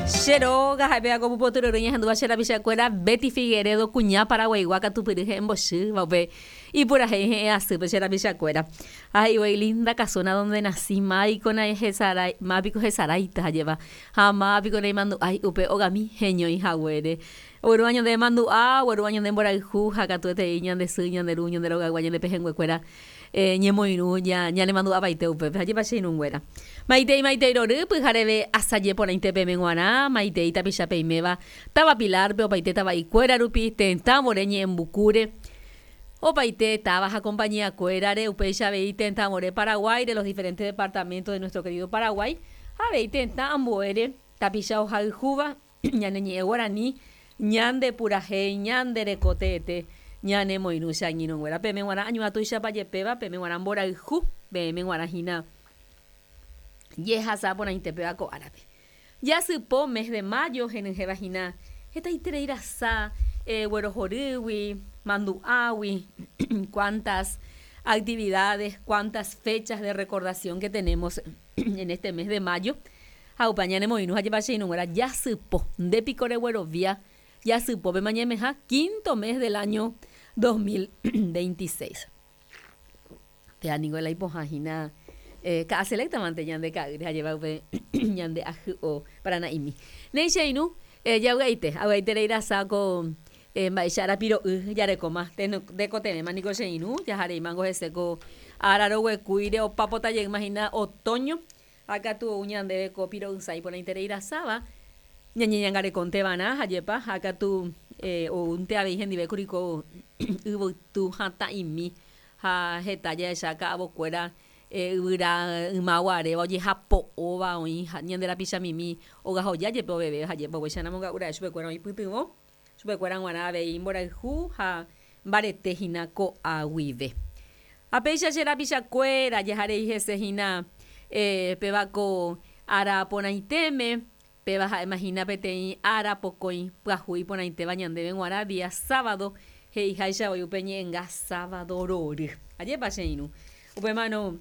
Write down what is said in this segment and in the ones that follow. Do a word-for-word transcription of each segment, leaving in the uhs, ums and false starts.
Che róga ha'e ko pupotyryry ñahendúva che rapichakuéra Betty Figueredo kuña paraguaigua katupyry he'ẽmbochýva upe ipurahéi he'ẽ asýpe che rapichakuéra. Ha he'ivoi linda casona donde nací máiko hesarái mápiko hesaráita hajéva ha mápiko naimandu'ái upe ogami heñói haguére. Oguerúva ñande mandu'a, oguerúva ñande mborayhu ha katuetei ñande sy, ñande ru, ñande rogaygua, ñande pehẽnguekuéra eh, ñemoirũ ña ñanemandu'apaite upépe hajépa che irũnguéra. Maitei maitei rory pyhareve asaje porãite peme g̃uarã, maitei tapicha peiméva táva Pilarpe opaite tava'ikuéra rupi tetãvore ñe'ẽmbukúre opaite táva ha compañiakuérare upéicha avei tetãvore Paraguáire los diferentes departamentos de nuestro querido Paraguay ha avei tetã ambuére tapicha ohayhúva ñane ñe'ẽ guarani ñande purahéi ñande reko teete ñanemoirũ che angirũnguéra peme g̃uarã añuã tuichapa jepéva peme g̃uarã mborayhu peẽme g̃uarã hína jehasa porãite péva ko árape. Jasypo mes de mayo henyhẽva hína hetaiterei rasa eh, guerohorýgui, mandu'águi, cuántas actividades, cuántas fechas de recordación que tenemos en este mes de mayo. Ha upe ñanemoirũ hajépa che irũnguéra jasypo ndépiko reguerovia jasypópe mañemeha quinto mes del año dos mil veintiséis. Péa ningo la ipohã hína eh, ka'a selectamante ñande ka'ýre hajéva upe ñande ahy'o Parana'imi. Néi che irũ eh, javy'aite, avy'aiterei rasa ko eh, mba'éicha arapiro'y jarekóma tekotevẽma niko che irũ jahareímango hese ko ára roguekúire opapota jeýma hína otoño ha katu ou ñandéve ko piro'ysã iporãiterei rasáva ñañeñangarekonteva'erã hajépa ha katu eh, oúnte avei hendive kuri ko yvytu hatã'imi ha heta jahecha ka'avokuéra eh, yvyra ymaguaréva ojehapo'óva oĩ ñande rapichamimi ogahoja jepe oveve hajépa upéicha namonga'ura'e chupekuéra oĩ pytyvõ chupekuéra g̃uarã avei mborayhu ha mbarete hína ko'a guive. Ha péicha che rapichakuéra jaharei hese hína eh, péva ko ára porãitéme péva ha'éma hína peteĩ ára pokõi pyahu iporãitéva ñandéve g̃uarã día sábado he'iháicha voi upe ñe'ẽnga sábado rory. Ajépa che irũ. Upémarõ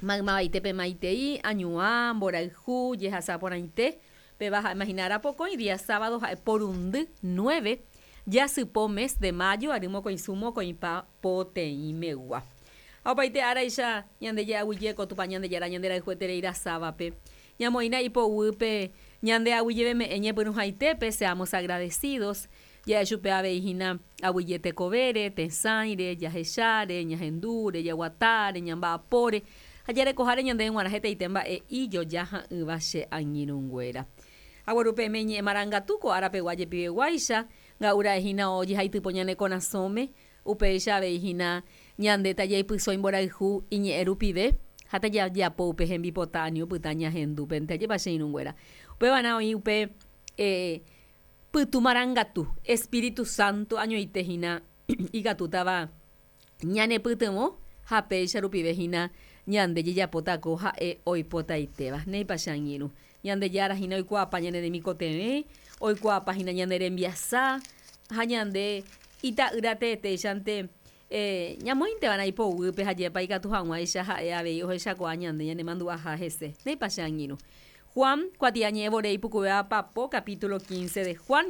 maymavaite maitei añuã, mborayhu, jehasa porãite péva ha'éma hína ára pokõi día sábado ha'e porundy nueve jasypo mes de mayo ary mokõisu mokõipa poteĩmegua. Ha opaite áraicha ñande je'aguyje ko Tupã Ñandejára ñanderayhueterei rasávape. Ñamoĩna ipoguýpe ñande aguyjeveme'ẽ ñepyrũhaitépe seamos agradecidos ja'e chupe avei hína aguyje tekovére, tesãire, jahecháre, ñahendúre, jaguatáre, ñamba'apóre ha jarekoháre ñandéve g̃uarã hetaite mba'e ijojaha'ỹva che angirũnguéra. Agueru peẽme ñe'ẽ marangatu ko árapegua jepiveguáicha nga'ura'e hína ojehaitypo ñane korasõme upéicha avei hína ñande tajaipyso imborayhu iñe'ẽ rupive ha tajajapo upe hembipota ani opyta ñahendúpente ajépa che irũnguéra. Upévarã oĩ upe eh, pytu marangatu Espíritu Santo añoite hína ikatútava ñanepytyvõ ha péicha rupive hína ñande jejapóta ko ha'e oipotaitéva. Néipa che angirũ. Ñandejára hína oikuaapa ñane remikotevẽ, oikuaapa hína ñane rembiasa ha ñande ita'ýra teetéichante eh, ñamoĩnteva'erã ipoguýpe hajépa ikatu hag̃uáicha ha'e avei ohechakuaa ñande ñanemandu'aha hese. Néipa che angirũ. Juan kuatiañe'ẽ vore ipukuvéva papo capítulo quince de Juan.